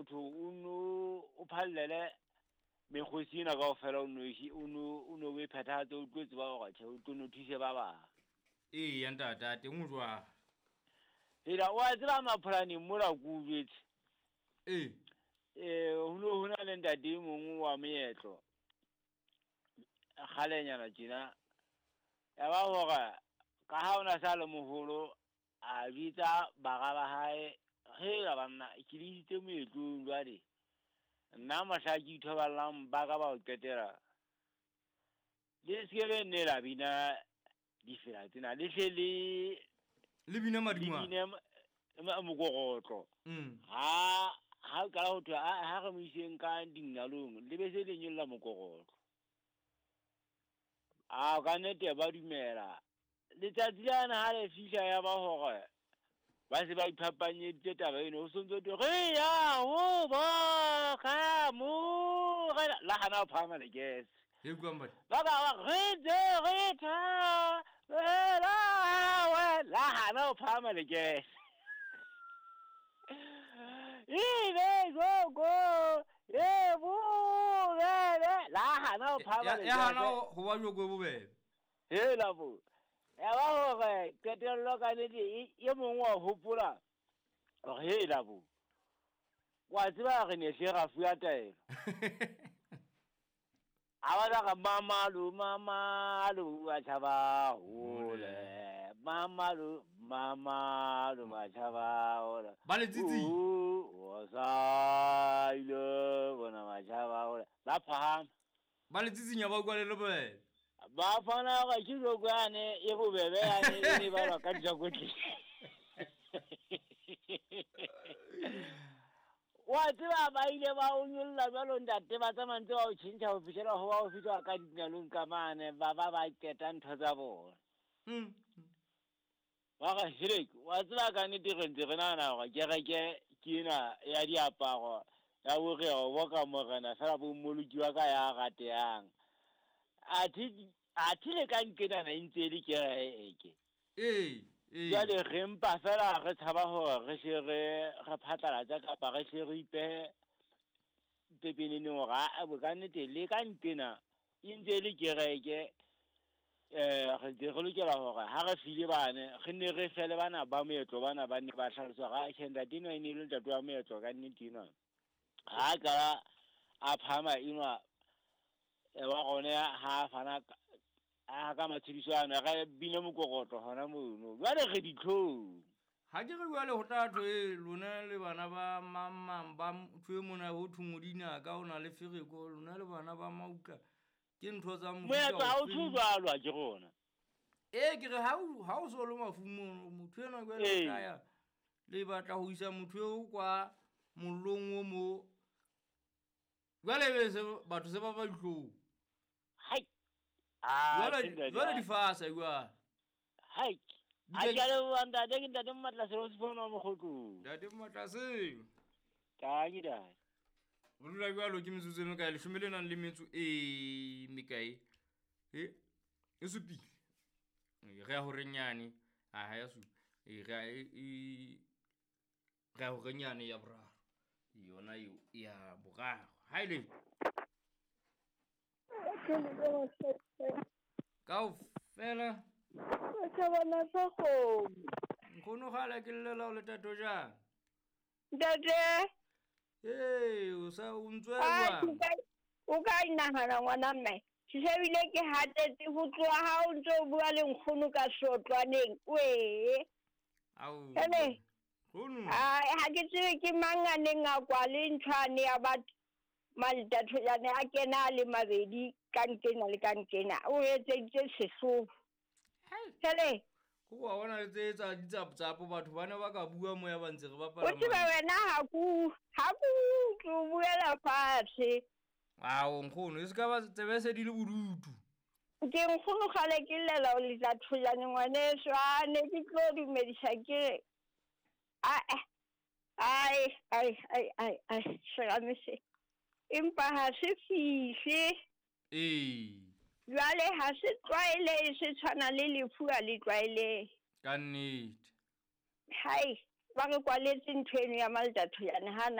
Motho o no o phallele mekgosi ena kaofela o noshi o no o no o e phethahatse o tlo tseba hore tjhe o tlo no thuse ba bang. Eya ntate a teng o jwang? Hela wa tseba mapholaneng mola ko o jwetse. Ee. Ho no ho na le ntate e mong wa moetlo kgalenyana tjena. Ya ba hore ka ha o na sa le moholo a bitsa bara ba hae, hela banna ke le isitse moetlong jwale. Nna mohla ke ithoballang ba ka ba ho qetela. Le se ke nne la bina difela tsena le hle le Le bina le madingwana. bine mokorotlo. Ha ha o qala ho thwe ha re mo iseng ka dinalong le be se le nyolla mokorotlo. A ka nnete ba dumela. Letsatsi lane ha le fihla ya ba hore ba se ba iphapanyeditse taba eno ho sontso thwe re ya ho boka morena la hana ho phahama lekese. E utlwang batho. Ba ba ba re ntse re thabela wena la hana ho phahama lekese. Ebe joko e bobebe la hana ho phahama Ya hana lekese. ho ba joko e bobebe. Hela bo. Ya ba hore qetello ka nnete e mong wa hopola hore hela bo. Wa tseba re ne hle ra fuwa taelo. A batla re mamalo mamalo wa tjhaba hole. Mamalo mamalo wa tjhaba hole. Ba le tsitsing. O sa ile bona wa tjhaba hole. Ba phahama. Ba le tsitsinya ba utlwa le bobebe. Ba fana hore ke joko yane e bobebe yane e ne balwa ka dijakotle. Wa tseba ba ile ba o nyolla jwalo ntate ba tsamaya ntse ba o tjhentjha ho fihlela ho ba o fihla ka dinalong ka mane ba ba ba qeta ntho tsa bona. Ba re helek wa tseba ka nnete re ntse re nahana hore kereke ke ena ya diaparo ya hore o boka morena fela bo mmoloki wa ka ya ratehang. Athe le ka nkenana e ntse e le kereke. Ee, ee. Jwale re mpa fela re tshaba hore re hle re phatlalatse kapa re hle re ipehe pepeneneng hore aa bo ka nnete le ka ntena e ntse e le kereke. Re ntse re lokela hore ha re file bane re nne re fele bana ba moetlo bana ba ne ba hlalosa hore atjhe ntate enwa e ne le ntate wa moetlo ka nnete enwa. Ha qala a phahama enwa wa rona ha fana ka matshediso ana re bine mokorotlo hona mono. Jwale re ditlhong. Ha ke re jwale ho tla thwe lona le bana ba mang ba ntho e mona ho thwe Modinaka o na le fereko lona le bana ba Mautla ke ntho tsa mofuta Moetlo ha o ofe? tjho jwalo ha ke rona. Ee ke re ha o so le mafung mono motho enwa jwale o tla ya le batla ho isa motho eo kwa mollong o mo. Jwale be se batho se ba ba dihlong. Hai. Jwale difasa jwale. Hai. A ke a leboha ntate, ke ntate Mmatlasele o Sefono wa Mokgotlong. Ntate Mmatlasele. Ka ke ntate. Ho dula jwalo ke metsotso e mekae? Leshome le nang le metso e mekae? E supile. Re ya horeng yane. Ha ya supa. Re ya horeng yane ya boraro. Yona eo ya boraro. Ha e le. Kaofela. Thabana sa kgomo. Nkgono kgale ke llela o le tato jang? Ntate. Ee, o sa o ntswela jwang? O ka inahana ngwana mme. Ke shebile ke hatetse ho tloha ha o ntso o bua le nkgono ka sotlwaneng. Wee. Ao. Hele. Nkgono. Ai, ha ke tsebe ke mang a neng a kwale nthwane ya batho. Maltathojane a kena le mabedi ka nkena le ka nkena. O etseditse sehloho. Hele. Ko wa bona le tse tsa ditsapotsapo batho bana ba ka bua moya ba ntse re bapala. O tseba wena ha ku tlo buela fatshe. Ao nkgono e se ka ba tsebe se di le bodutu. Ke nkgono kgale ke llela o letlathojane ngwaneso a ne ke tlo dumedisa ke ai ai ai ai ai serame se. Empa ha se fihle. Ee. Jwale ha se tlwaele se tshwana le lefu ha le tlwaele. Ka nnete. Hai, ba re kwaletse ntho eno ya Maltathojane ha na